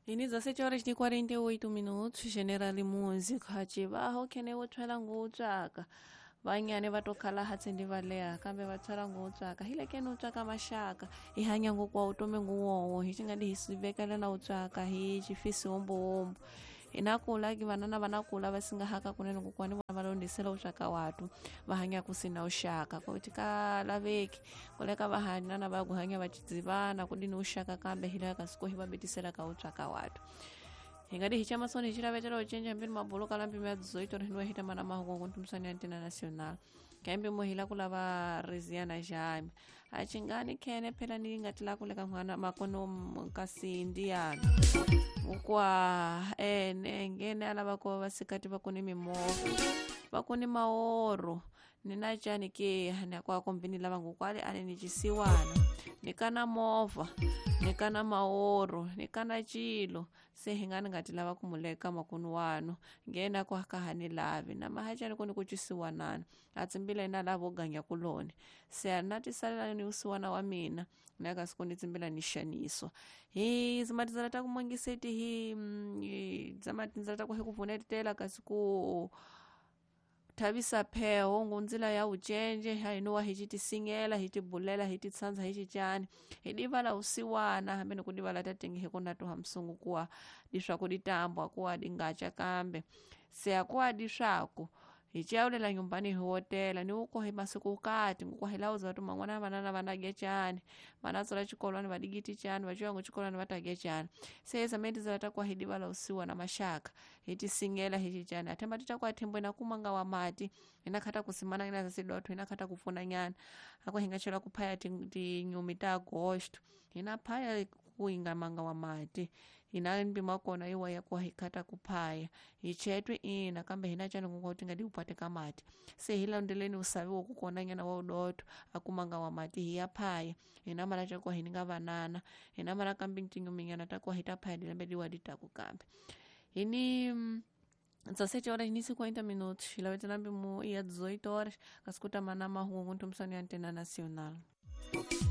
Ini 17 horas ni 48 minutos, General Música, hachivaho kene wo ngutswaka vanyane va to khala hatsi ndi va leha kambe va tswela ngutswaka hi le kene u tswaka maxaka hi hanya ngokwa utomi nguwowo hi xi nga di hi sivekela na utswaka hi xifisi wombo hina kula ki vanana va na kula va singahaka kunene kokwani vona va londisela utswaka watu va hanya ku sina uxaka ku ti ka laveki koleka va hanana va ku hanya va dzivana ku dini uxaka kambe hi la ka siku hi va betisela ka utswaka watu hi nga di hi chamasoni hi xilavetela u cinca mbini mabulu kala mpimo ya 18 hi hita mana mahungu ntumisani ya ntina national kambe mo hi la ku lava riziana jami a chingani khene phela ni nga tila ku leka n'wana makono kasi ndiyana ukwa ene ngene alava ko vasikati va kuni mimovha va kuni maoro ni na cani ke ni kwa kombini lava ngokwale ani ni cisiwana ni kana movha ni kana maoro ni kana cilo se hi nga ni nga ti lava ku muleka makunu wanu ngena ku ka ha ni lavi na mahacani ku ni ku cisiwanana a tsimbila ina lavo ganya kuloni se a na tisalela ni usiwana wa mina na ka siku ni tsimbila ni xaniswa hi zima tindzela ta ku mongiseti hi zama tindzela ta ku hi ku pfunetela kasi ku thavisa pheho ngundzila ya ucenje hainowa hi citisingela hi tibulela hi titshandza hi cicani hi divala usiwana hambi ni ku divala tatengi hi kuna toha msungu kuwa diswaku ditambwa kuwa dingacha kambe se akuwa diswaku hi cawulela nyumbani hi hotela ni uko hi masiku kati nguko hi lauza watu mang'wana vanana vanagya chani vanatsola chikolwani vadigiti chani vachiwangu chikolwani vatagya chani se zamene tizala hi divala usiwa na mashaka hi tisingela hi chichani athemba titakuwa thembwe na kumanga wa mati hinakhata kusimana ina zasidotho hinakhata kupfuna nyana ako hingachela kuphaya tinyumi ta agosto hinaphaya kuinga manga wa mati hina mpimo kona iwa ya kuwa hikhata kuphaya hichetwe ina kambe hina chani kunga kuti ngadi upate kamati se hilandeleni usavi wokukona nyana wa udoto akumanga wa mati hiyaphaya hina mala chakuwa hininga vanana hina mala kambi tinyuminyana takuwa hitaphaya dilembe diwa ditaku kambe hini 17 horas e 50 minutos ilavetela mpimo iya 18 horas kasikuta mana mahungu ntumisani ya antena nacional.